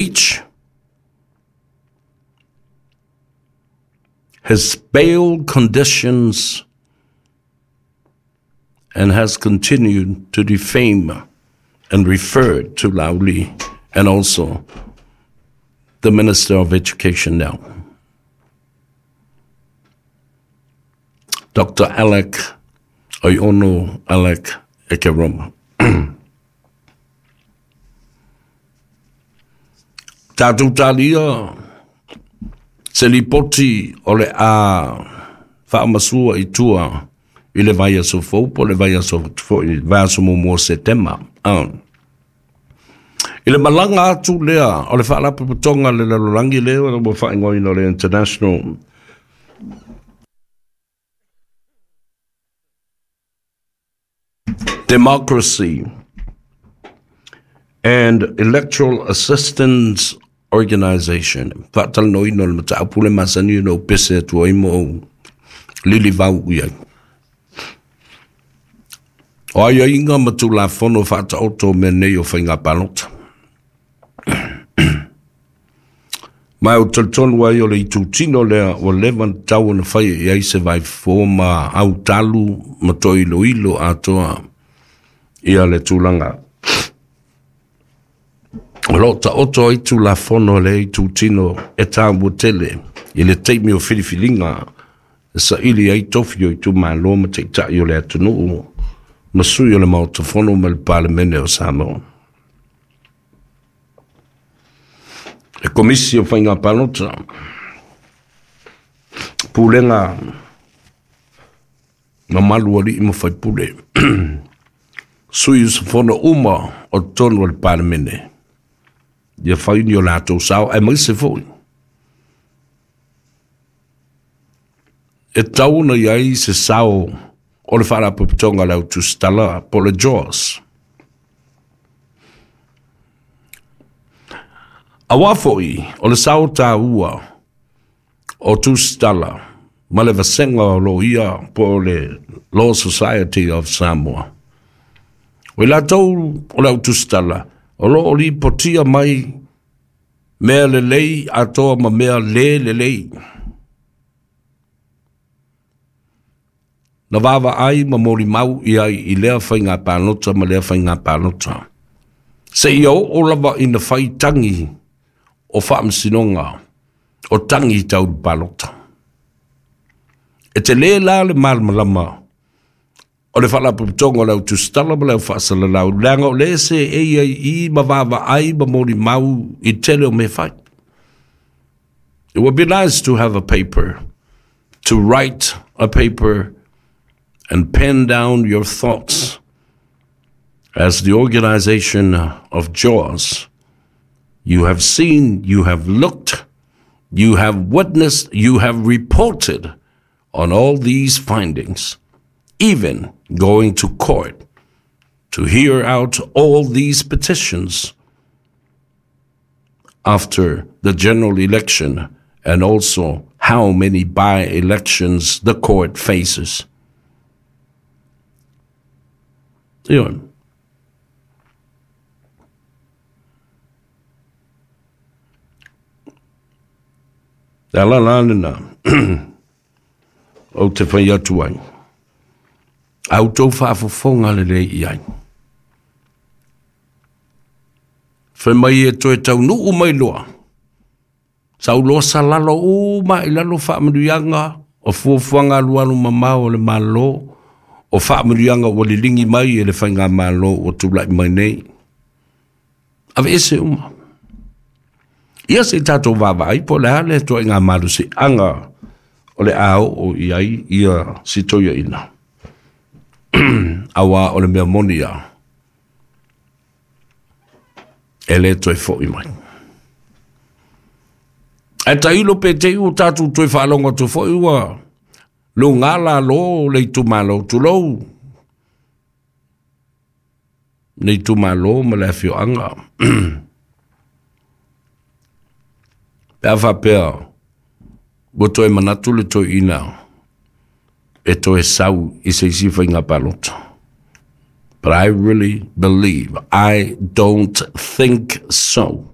Breach his bail conditions and has continued to defame and refer to Laauli and also the Minister of Education now. Dr. Alec Oiono Alec Ekeroma. Tātou tālia, se lipoti o le a whaamasua i tua i le vaiaso fou po le vaiaso foi vaiaso muamua o Setema. I le malaga atu lea o le Faalapotopotoga a le Lalolagi lea ua faaigoaina o le International Democracy and Electoral Assistance Organization, faatalanoaina o le mataupu le masani ona ou pese atu ai ma ou lilivau i ai. O aiaiga ma Tulafono faataoto o mea nei o faiga palota. Ma ou talitonu ai o le itutino lea ua leva ona tatau ona faia i ai se vaifofo ma autalu ma toe iloilo atoa ia le tulaga o lo o taoto ai Tulafono a lea itutino e taua tele i le taimi o filifiliga e saili ai tofi o itumalo ma taitai o le atunuu ma sui o le Maota Fono ma le Palemene o Samoa. Le Komisi o Faiga Palota, Pulega mamalu alii ma faipule, sui usufono uma o totonu o le Palemene, ia fai ni o latou sao, aemaise foi e tatau ona i ai se sao o le Faalapotopotoga a le Au Tusitala po o le JAWS. Aua foi o le sao taua o Tusitala ma le vasega o loia po o le Law Society of Samoa. O i latou o le Au Tusitala o lo o lipotia mai mea lelei atoa ma mea le lelei. Na vaavaai ma molimau i ai i lea faiga palota ma lea faiga palota. Seia oo lava ina fai tagi o faamasinoga o tagi tau le palota. E tele la le malamalama o le Faalapotopotoga o le Au Tusitala ma le Au Faasalalau, leaga o lea se e ai i ma vaavaai ma molimau i tele o mea fai. It would be nice to have a paper, to write a paper and pen down your thoughts as the organization of JAWS. You have seen, you have looked, you have witnessed, you have reported on all these findings, even going to court to hear out all these petitions after the general election and also how many by-elections the court faces. Ioe. Le ala la lena ou te whai atu ai. A outou faafofoga lelei i ai. Fai mai e toe taunuu mai loa. Sau loa salalo uma i lalo faamanuiaga o fuafuaga alualu mamao a le Malo, o faamanuiaga ua liligi mai e le Faigamalo ua tulai mai nei. Aveese uma. Ia se i tatou vaavaai po o le a le ituaiga malosiaga o le a oo i ai ia si toeaina. Aua o le mea moni ia, e le toe foi mai. Ae tailo pe te i ua tatou toe faalogo atu foi ua luga lalo le itumalo, tulou le itumalo ma le afioaga. Pe a faapea ua toe manatu le toeaina e toe sau i se isi faiga palota. But I really believe, I don't think so.